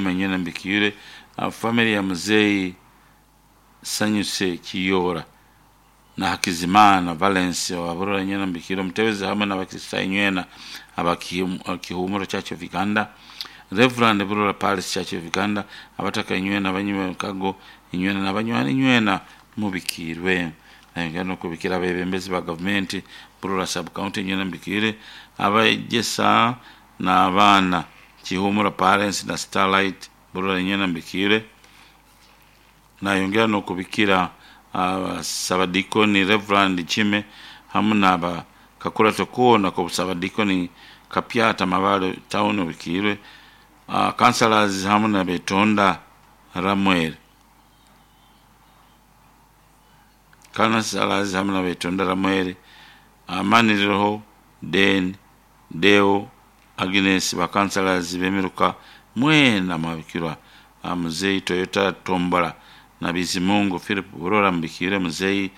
Manyana Mbikiire, family ya muzeeyi Sanyuse Kiyoora na Hakizimana Valence wa Burora Nywena Mbikiire, omutebezi hamwe n'abakristaayo nywena aba Kihumuro Church of Uganda, Reverend Burora Parish Church of Uganda, abataka inywena abanywi b'emikago inywena n'abanywani nywena mubikiirwe. Nayongera n'okubikira abeebembezi ba gavumenti Burora sub county nywena mubikiire, abeegyesa n'abaana Kihumuro Parents na Starlight Burora nywena mubikiire. Nayongera n'okubikira Sabadikoni Reverend Chime hamu n'aba kakurato koona k'obusabadikoni Kapyata Mabale Town obikiirwe, councillors hamu na Betonda Ramuel. Councillors hamu na Betonda Ramuel, Amaniriho Den, Deo, Agnes ba councillors b'emiruka mwena mwabikirwa. Muzeeyi Toyota Tombora na Bizimungu Philip Burora mubikiire, muzeeyi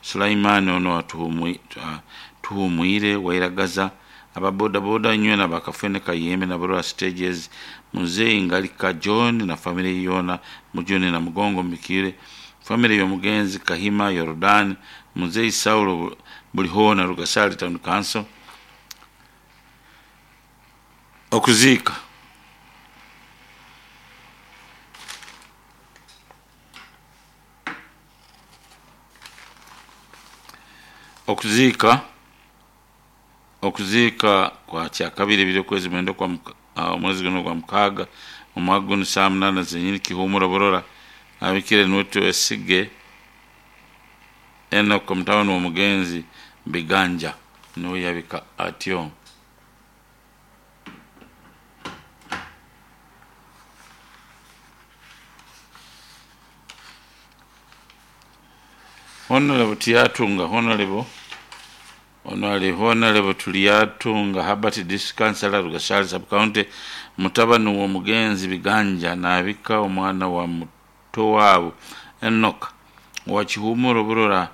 Sulaiman ono Tuhumwire Wairagaza, aba bodaboda nywena ba Kafene Kayembe na Burora Stages, muzeeyi Ngalika John na family ye yoona Mujuni na Mugongo mubikiire, family y'omugenzi Kahima Yorodani, muzeeyi Saulo Bulihoona Rugasari Town Council. Okuziika. Okuziika okuziika kwa kyakabiri ebiri okwezi mwenda okwa omwezi guno ogwa mukaaga omwaka gunu saaha munaana zenyini Kihumuro Burora abikire niwe Twesige Enock mutabani w'omugenzi Biganja niwe yabika atyo. Honorable Tiatunga, Honorable ono ali Honorable Tuliatunga Herbert District Councillor Rugasari Sub County, mutabani w'omugenzi Biganja naabika omwana wa muto waabo Enock owa Kihumuro Burora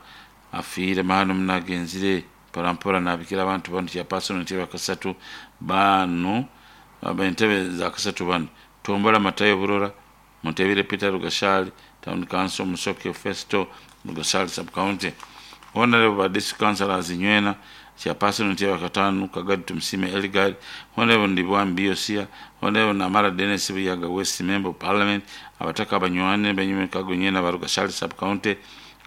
afiire mahano muno agenzire mporampora naabikira abantu banu chairperson entebe akasatu banu entebe za kasatu banu Tombora Matayo Burora, Mutebile Peter Rugashali Town Council, Musoke Festo Rugashali Sub County. Honorable ba District Councillors Nywena, Chairperson Ntebe Katano Kagadi Tumsime Eligard, Honorable Ndibwambi Yosia, Honorable Namara Dennis Buyaga West Member of Parliament, abataka abanywane banyume kago nywena ba Rugashali Sub County,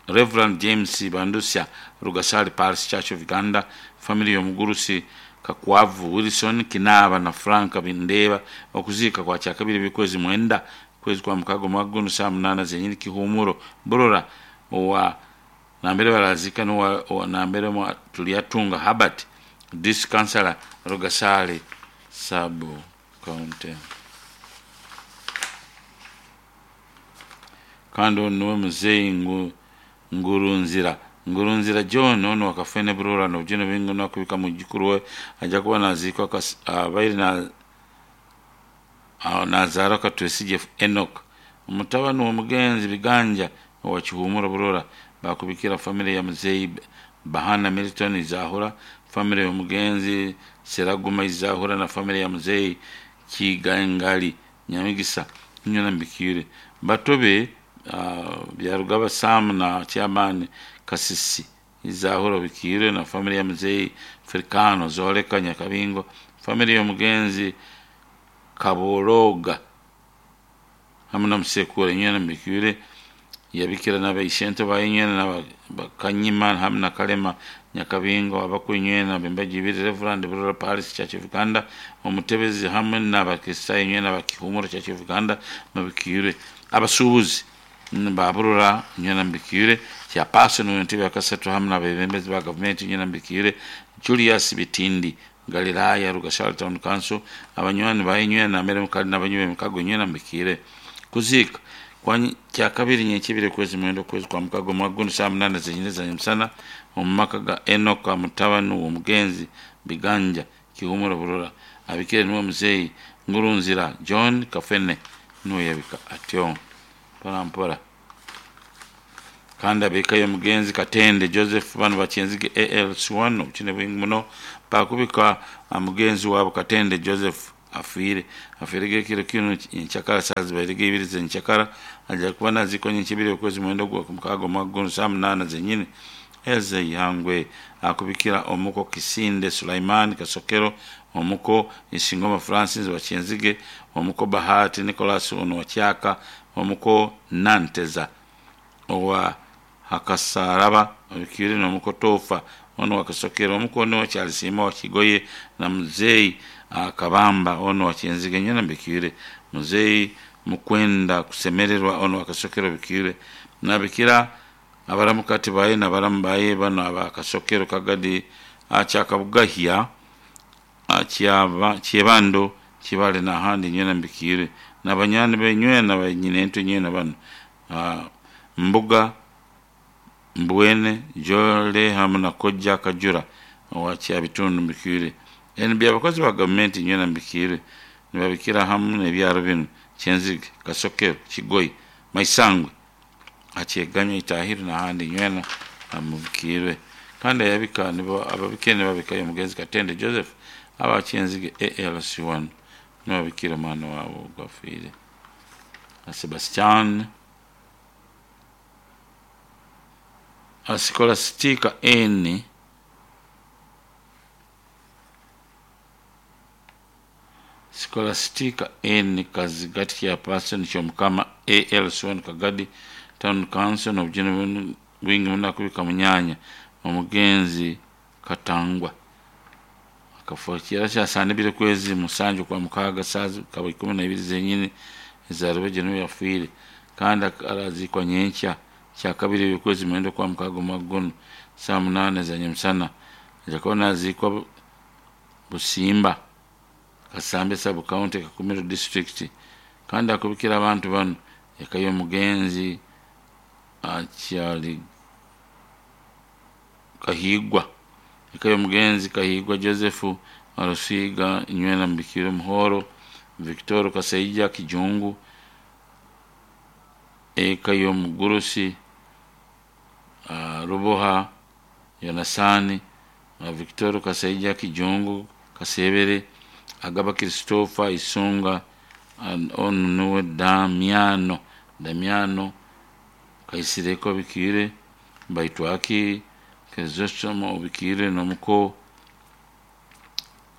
Reverend James Bandusya Rugasali Parish Church of Uganda, family y'omugurusi Kakwavu Wilson Kinaaba na Frank Bindeba. Okuziika kwa kyakabiri bikwezi mwenda kwezi kwa mukaaga omwaka guno saaha munaana zenyini Kihumuro Burora owa nambere barazika nowa nambere Tuliatunga Herbert District Councillor Rugasali Sub County. Kandi ono niwe muzeeyi Ngurunzira Ngurunzira John ono wakafene Burora n'obujune bwingi nakubika mwijukuru we ajja kuba naziikwa abaire nazaarwa Katwesigye Enock omutabani w'omugenzi Biganja owa Kihumuro Burora. Bakubikira family ya muzeeyi Bahana Milton Izahura, family y'omugenzi Seraguma Izahura na family ya muzeeyi Kigangali Nyamigisa nywena mubikiire. Batobe Byarugaba Sam na chairman Kasisi Izahura obikiire na family ya muzeeyi Africano Zoleka Nyakabingo, family y'omugenzi Kaboroga hamu na Musekura nywena mubikiire. Yabikira n'abaishento baye nywena na Kanyima hamu na Kalema Nyakabingo abakuru nywena b'embaga ibiri Reverend Burora Parish Church of Uganda, omutebezi hamwe n'abakristaayo nywena ba Kihumuro Church of Uganda mubikiire. Abasuubuzi ba Burora nywena mubikiire. Chairperson w'entebe yakasatu hamu n'abeebembezi ba gavumenti nywena mubikiire. Julius Bitindi Galilaya Rugashali Town Council, abanywani baye nywena nambere mukali n'abanywi b'emikago nywena mubikiire. Kuziika kwa kyakabiri nyenkibiri okwezi mwenda okwezi kwa mukaaga omwaka guno saaha munaana zenyini za nyamusana omu maka ga Enock mutabani w'omugenzi Biganja Kihumuro Burora abikire niwe muzeeyi Ngurunzira John Kafene niwe yabika atyo mpora mpora. Kandi abika y'omugenzi Katende Joseph banu bakyenzige ALC1 obukine bwingi muno bakubika mugenzi waabo Katende Joseph. afiire afiirege ekiro kinu nyenkyakara saaha zibairege ibiri zenkyakara aja kuba naziikwa nyenkya ibiri okwezi mwenda ogwamukaaga omwaka gunu saaha munaana zenyini. Eze Ihangwe akubikira omuko Kisinde Sulaiman Kasokero, omuko Isingoma Francis wa Kyenzige, omuko Bahati Nicholas ono wa Kyaka, omuko Nanteza owa Hakasaraba obikiire n'omuko Tofa ono wa Kasokero, omuko ono Kyalisiima wa Kigoye na Muzeyi Kabamba ono wa Kyenzige nyena mbikiire. Muzeyi Mukwenda Kusemererwa ono wa Kasokero bikiire. Nabikira abaramukati baye nabaramu baye bano aba Kasokero Kagadi akyakabugahya akyaba Kyebando Kibale n'ahandi nywena mbikiire n'abanyani benywena banyinento nywena bano Mbuga Mbwene Jole hamu na Kojja Kajura owa Kyabitundu mbikiire. NB abakozi ba gavumenti nywena mbikiire nibabikira hamu n'ebyaro binu Kyenzige, Kasokero, Kigoyi, Maisangwe, Akyeganya, Itahiru n'ahandi nywena mubikiirwe. Kandi ayabika nibo ababikire nibabikayo omugenzi Katende Joseph aba Kyenzige ALC1 nibabikira omwana waabo ogwafiire. Sebastian Scholastica N Scholastica N Kazigati Chairperson Kyomukama ALC1 Kagadi Town Council n'obujune bwingi muno akubika munyanya omugenzi Katangwa akafo kira kyasanibire kwezi musanju kwa mukaaga saa kaba 12 zenyini ezarube niwe yafiire kandi arazikwa nyenkya kyakabiri okwezi mwenda kwa mukaaga omwaka guno saa 8 za nyamusana aja kuba nazikwa Busimba Kasambe sub county Kakumiro district kandi akubikira abantu bano eka y'omugenzi akyali Kahigwa eka y'omugenzi Kahigwa Joseph Arusiga nywena Mbikire Muhoro Victor Kasaija Kijungu eka y'omugurusi Ruboha Yonasani Victor Kasaija Kijungu Kasebere Agaba Christopher Isunga onu nuwe Damiano Damiano Kaisireko Bikire Baitwaki Kezosomo Bikire n'omuko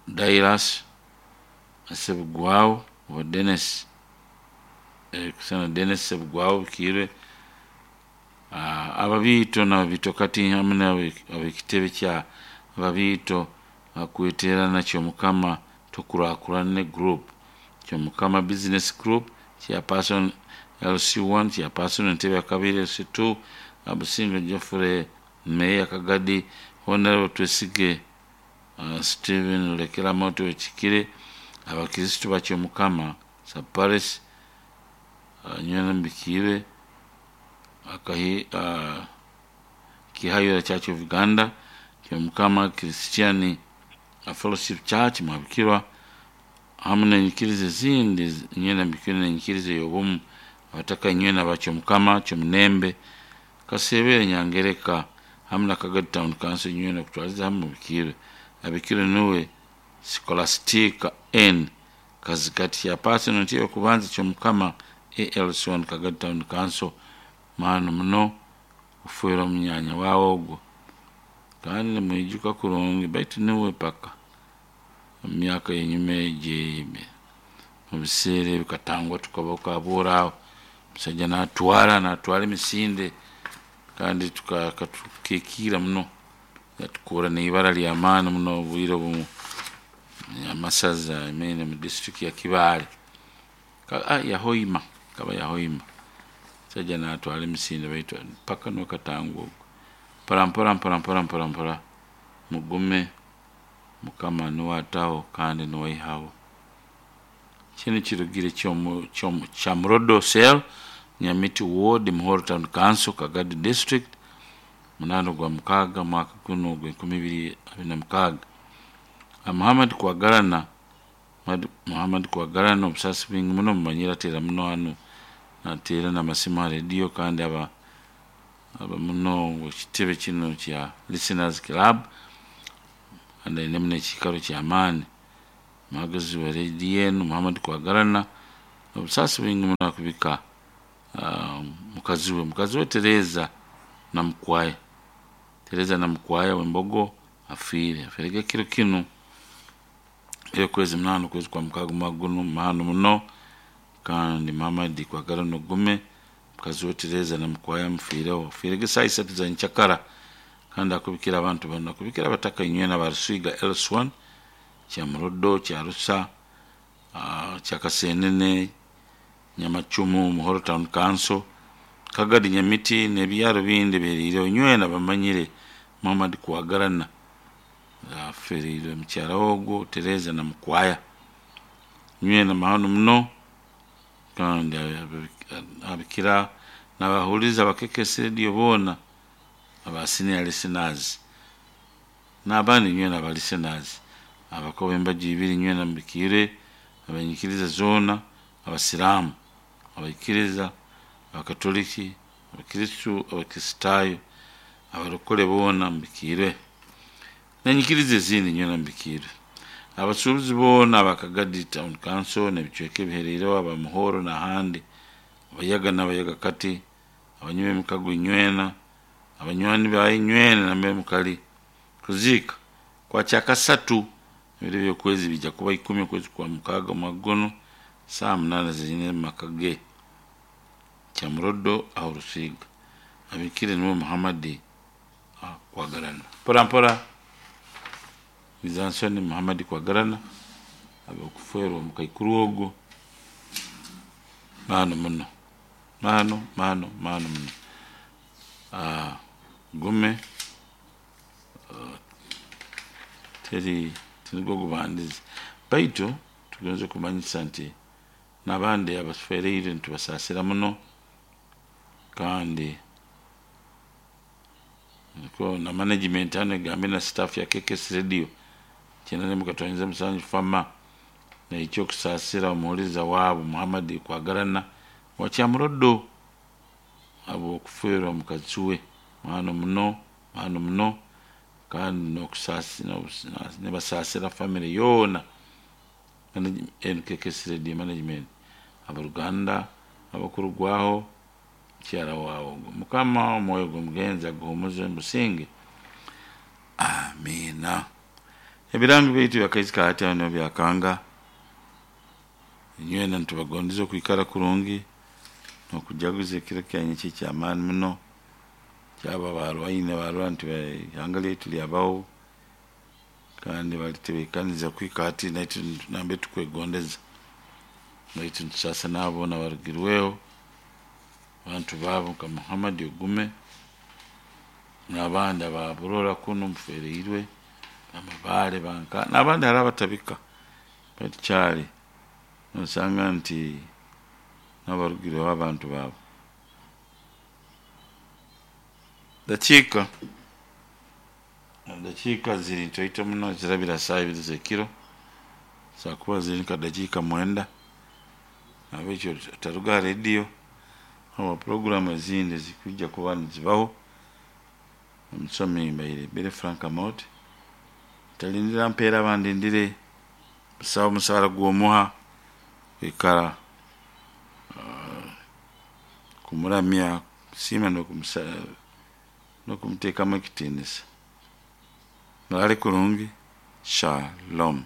Dairas Sebugwawo wa Dennis kusana Dennis Sebugwawo Bikire ababiito n'ababiito kati hamu n'ab'ekitebe kya ababiito akweterana Kyomukama Tukurakurane Group Kyomukama Business Group Chairperson LC1 Chairperson Entebe ya kabiri LC2 Abusingo Geoffrey Meya Kagadi Honorable Twesige Stephen Lekeramoto Wekikire abakristo ba Kyomukama Saparis nywena Mbikire akahi Kihayura Church of Uganda Kyomukama Christian Fellowship Church mwabikirwa hamu n'enyikiriza ezindi nywena mbikire n'enyikiriza ey'obumu abataka nywena ba Kyomukama Kyomunembe Kasebere Nyangereka hamu na Kagadi Town Council nywena kutwaliza hamu mubikire abikire nuwe Scholastica N Kazigati ya Person nti okubanza Kyomukama ALC1 Kagadi Town Council maano muno kufuera omunyanya waawe ogwo kandi nimwijuka kurungi baitu niwe paka emyaka enyuma egyo mu biseera ebyo Katangwa tukaba okabuura aho omusajja natwara emisinde kandi tukikiira muno yatukuura n'ibara ly'amaani muno obwire obumu amasaza maine mu disitulikiti ya Kibaale Yahoima kaba Yahoima omusajja natwara emisinde baitu paka niwe Katangwa ogwo mpora mpora mpora mpora mpora mpora mugume Mukama niwe ataho kandi niwe aihaho. Kinu kirugire Kyamurodo Cell Nyamiti Ward Muhoro Town Council Kagadi District 8 gwa mukaaga mwaka guno ogwa 2026. Muhammad Kwagarana Muhammad Kwagarana obusaasi bwingi muno mumanyire ateera muno hanu nateera n'amasimu ha rediyo kandi aba muno ekitebe kino kya Listeners Club kandi aine muno ekiikaro ky'amaani. Muhagazi wa rediyo enu Muhammad Kwagarana obusaasi bwingi muno akubika mukazi we Tereza Namukwaya. Tereza Namukwaya w'Embogo afiire. Afiirege ekiro kinu eky'okwezi 8 okwezi kwa mukaaga omwaka gunu mahano muno. Kandi Muhammad Kwagarana ogume, mukazi we Tereza Namukwaya amufiireho. Afiirege saaha 3 za nkyakara. Kandi akubikira abantu banu, akubikira abataka inywena aba Rusiga LS1, Kyamurodo, Kyarusa, Kyakasenene, Nyamacumu, Muhoro Town Council, Kagadi Nyamiti n'ebyaro bindi ebiheriireho inywena bamanyire Muhammad Kwagarana aferiirwe mukyara we ogwo Tereza Namukwaya. Inywena mahano muno kandi abikira n'abahuliiriza aba KKS Radio boona aba senior listeners n'abandi inywena aba listeners abakoba embaju ibiri inywena mubikiire abanyikiriza zoona, abasiraamu, abaikiriza, abakatoliki, abakristu, abakristaayo, abarokole boona mubikiire n'enyikiriza ezindi inywena mubikiire. Abasuubuzi boona aba Kagadi Town Council n'ebicweka ebiheriireho aba Muhoro n'ahandi, abayaga n'abayaga kati, abanywi b'emikago inywena, abanywani baye inywena nambere mukali. Kuziika kwa kyakasatu ebiro by'okwezi bijja kuba 10 okwezi kwa mukaaga omwaka gunu saaha 8 zenyini omu maka ge Kyamurodo aho Rusiga. Abikire niwe Muhammad Kwagarana. Mpora mpora Mizansoni Muhammad Kwagarana ab'okufeerwa omukaikuru ogwo mahano muno, mahano mahano mahano muno. Gume teri tinigwo gubandize, baitu tugonza kumanyisa nti n'abandi abaferiire nitubasaasira muno kandi nikwo na management hanu egambire na staff ya KKS Radio 94.7 Fama naija okusaasira omuhuliiriza waabo Muhammad Kwagarana owa Kyamurodo habw'okufeerwa mukazi we mahano muno mahano muno kandi nibasaasira family yoona KKS Radio management, ab'oruganda abakurugwaho mukyara waawe ogwo. Mukama omwoyo gw'omugenzi aguhumuze omu businge. Amiina. Ebirango byaitu byakaizi ka hati hanu byakanga. Inywena nitubagondeza okwikara kurungi n'okujaguza ekiro kyanyu eki eky'amaani muno kyaba barwaine barora nti ihanga lyaitu lyabaho kandi balitebeekaniza kuhika hati naitwe nambere tukwegondeza. Baitu nitusaasa n'abo boona abarugirweho abantu baabo nka Muhammad Ogume n'abandi aba Burora kunu muferiirwe, Bamabaale banka n'abandi hariho abatabika baitu kyali nosanga nti n'abarugireho abantu baabo. Dakiika ziri ntoito muno zirabira saaha 2 z'ekiro, zisobora kuba ziri nka dakiika 9, nahabwekyo otaruga ha rediyo habwa puroguraamu ezindi ezikwija kuba nizibaho. Omusomi mbaire Billy Frank Amooti, ntalindira mpeera bandindire, busaho omusaara gw'omuha kwikara kumuramya, kusiima n'okumuteekamu ekitiinisa. Muraale kurungi, shalom.